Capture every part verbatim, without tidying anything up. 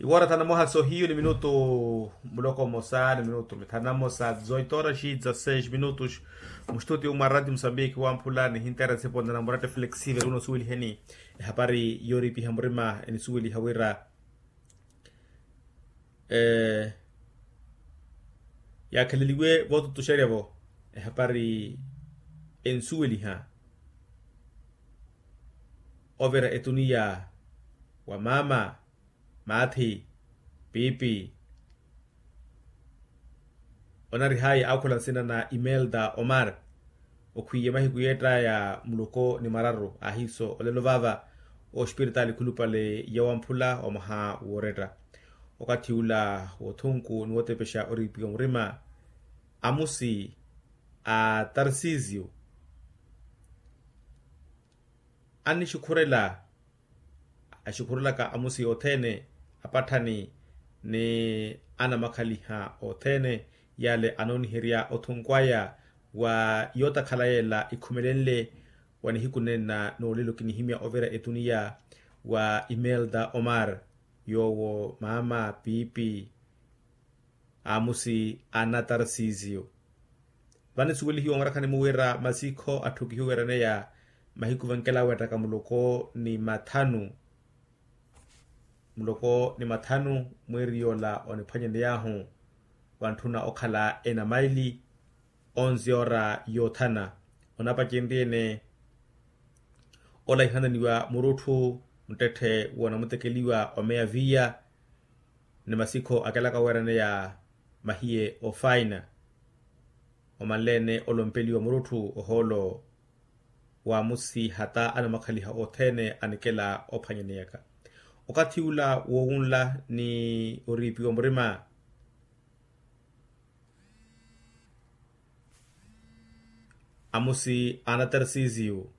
Iwoora thanu na moha sohiyu ni minutu muloko mmosa ni minutu mithanu na mmosa zoitoraxi dza seis minutus. Mustutio mwa rati musambiki wamphula nihinteera sipo ndanamurate flexive runo suweliheni ehapari yooripiha murima enisuweliha wira yaakheleliwe vootutuxerya-vo ehapari enisuweliha ovira etuniya wa maama, maathi, piipi. Onarihaya aakhola nsina na imelda omar. Okhwiiye mahiku yeettaya muloko ni mararu ahiiso olelo vaava ospiritaali khulupale ya wamphula wa mwaha wooretta. Okathi ula woothunku ni wootepexa oriipiwa murima amusi a tarsisio annixukhurela axukhurelaka amusi othene apatthani ni anamakhaliha othene yale anooniherya othunku aya wa yootakhala yela ikhumelenle wa nihiku nenna noolelo kinihimya ovira etuniya wa imelda omar yoowo maama piipi amusi a natarsisio. Vanisuwelihiwa onrakhani muwira masikho atthukihiwereneya mahiku vankela weettaka muloko ni mathanu muloko ni mathanu mwiiri yoola oniphwanyaney'ahu wantthuna okhala enamaili onzi ora yoothana onapacenrye-ene ola ihananiwa murutthu muttetthe wonamutekeliwa omeya viiya ni masikho akelaka weeraneya mahiye ofaina omanle-ene olompeliwa murutthu ohoolo wa amusi hata anamakhaliha othene anikela ophwanyaneyaka okathi ula woowunla ni oriipiwa murima amusi a natarsisio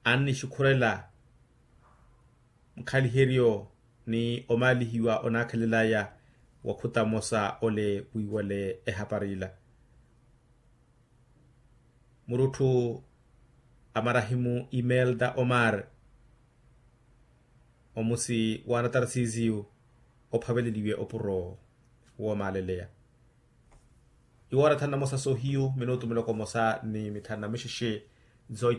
annixukhurela mukhaliheryo ni omaalihiwa onaakhelelaya wakhuta mmosa ole wiiwale ehapari ila murutthu a marahimu imelda omar omusi wa natarsisio ophaveleliwe opuro woomaaleleya iwoora thanu na mosa sohiyu minutu miloko mosa ni mithanu na mixexe zoito